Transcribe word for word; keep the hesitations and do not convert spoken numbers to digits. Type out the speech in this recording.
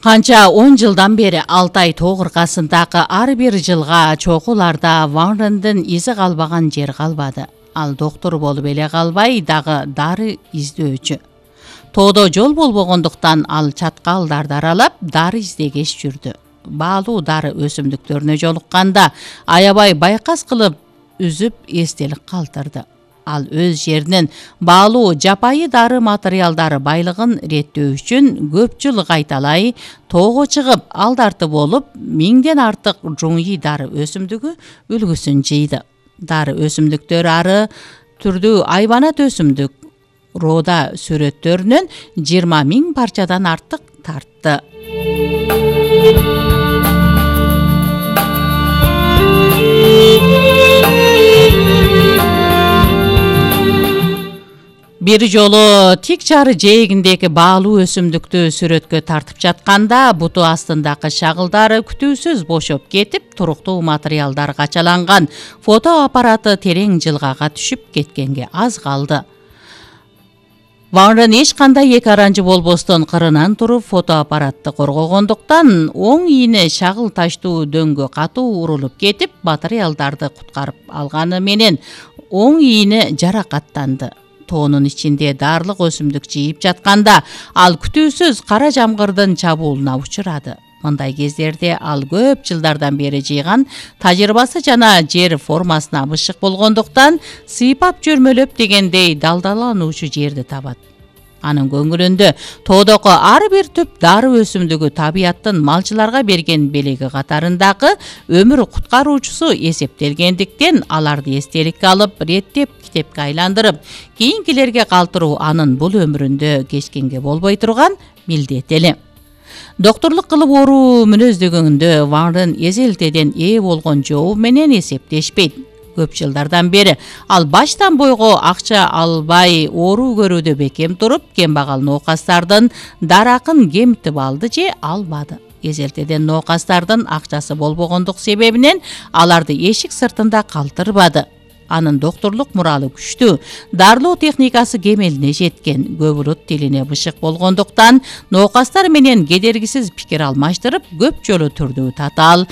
Канча он жылдан бери Алтай тоо кыркасындагы ар бир жылга чокуларда Ван Рындын изи калбаган жер калбады. Ал доктор болуп эле калбай, дагы дары издөөчү. Тоодо жол болбогондуктан ал чаткалдарды аралап, дары издегеш жүрдү. Баалуу дары өсүмдүктөрүнө жолукканда аябай байкас кылып үзүп эстелик калтырды. Ал өз жеринин баалуу жапайы дары материалдары байлыгын реттөө үчүн көп жыл кайталай тоого чыгып, алдарты болуп, миңден артык жуңуй дары өсүмдүгү үлгүсүн жыйды. Дары өсүмдүктөрү ары түрдүү айбанат өсүмдүк рода сүрөттөрүнөн жыйырма миң парчадан артык тартты. Бир жолу тик чары жээгиндеги баалуу өсүмдүктү сүрөткө тартып жатканда буту астындагы шагылдары күтүүсүз бошоп кетип, туруктуу материалдар качаланган фото аппараты терең жылгага түшүп кеткенге аз калды. Ван Рын эч кандай эки аранжы болбостон кырынан туруп фото аппаратты коргогондуктан оң ийне шагыл таштуу дөңгө катуу урулуп кетип, материалдарды куткарып алганы менен оң ийне жаракаттанды. Тоонун ичинде дарлык өсүмдүк жыйып жатканда ал күтүүсүз кара жамгырдын чабуулуна учурады. Мындай кездерде ал көп жылдардан бери жыйган тажрыйбасы жана жер формасына бышык болгондуктан сыйпап жөрмөлөп дегендей далдалануучу жерди табат. Анын көңүлүндө тоодогу ар бир түп дары өсүмдүгү табияттын малчыларга берген белеги катарындагы өмүр куткаруучусу эсептелгендиктен аларды эстеликке алып, реттеп китепке айландырып, кийинкилерге калтыруу анын бул өмүрүндө кечкенге болбой турган милдети эле. Докторлук кылып оору мүнөздөгөндө Ван Рын эзелтеден ээ болгон жообу менен эсептешпейт. Көп жылдардан бери ал баштан бойго акча албай оору көрүүдө бекем туруп, кембагал ноокастардын даракын кемтип алды же албады. Эзелтеден ноокастардын акчасы болбогондук себебинен аларды эшик сыртында калтырбады. Анын докторлук муралы күчтүү, дарылоо техникасы кемелине жеткен, көп улут тилине бышык болгондуктан ноокастар менен кедергисиз пикир алмаштырып, көп жолу түрдүү татаал,